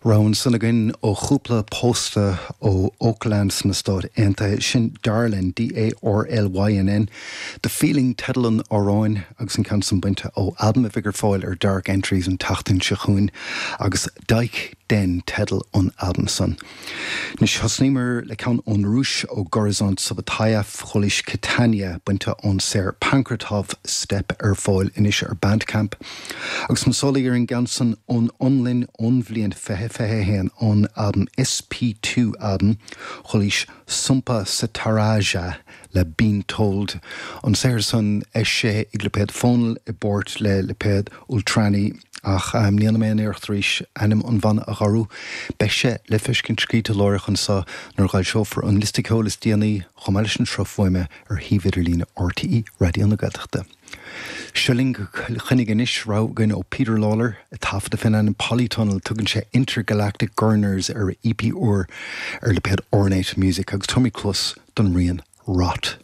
Rogha ansan againn ó chúpla pósta ó Oakland sna Stáit Aontaithe, sin Darlynn, D-A-R-L-Y-N-N, The Feeling teideal an amhráin agus an ceann san bainte ó albam a bheidh ar fáil ar Dark Entries an tseachtain seo chugainn agus Dyke Den teideal an albaim san. Anois thosnaíomar le ceann ón Rúis, ó Gorizont Subotaev, chualaís Catania, bainte ón saothar Pankratov Step ar fáil anois ar Bandcamp. Agus na sólaí ar an gceann san ón Fhionlainn ón bhliain 2021, ón albam SP2 album, chualaís Sumpa Sataraja le Been Told, an saothar san eisithe ag lipéad Fónal i bpáirt le lipéad Ultrani, ach ní dhéanfaidh mé aon iarracht arís ainm an bhanna a ghiorrú. Beidh sé le feiscint scríte láithreach anso nuair a dh'fhoilseofar an liosta ceoil is déanaí, chomh maith leis an sruth fuaime, ar shuíomh idirlíne RTÉ Raidió na Gaeltachta. Seo linn go Cill Chainnigh anois, rogha againn ó Peter Lawlor, ag taifeadadh fén ainm Polytunnel. Tugann sé Intergalactic Gurners ar a EP úr ar lipéad Ornate Music agus tabharfaimid cluas don rian Rot.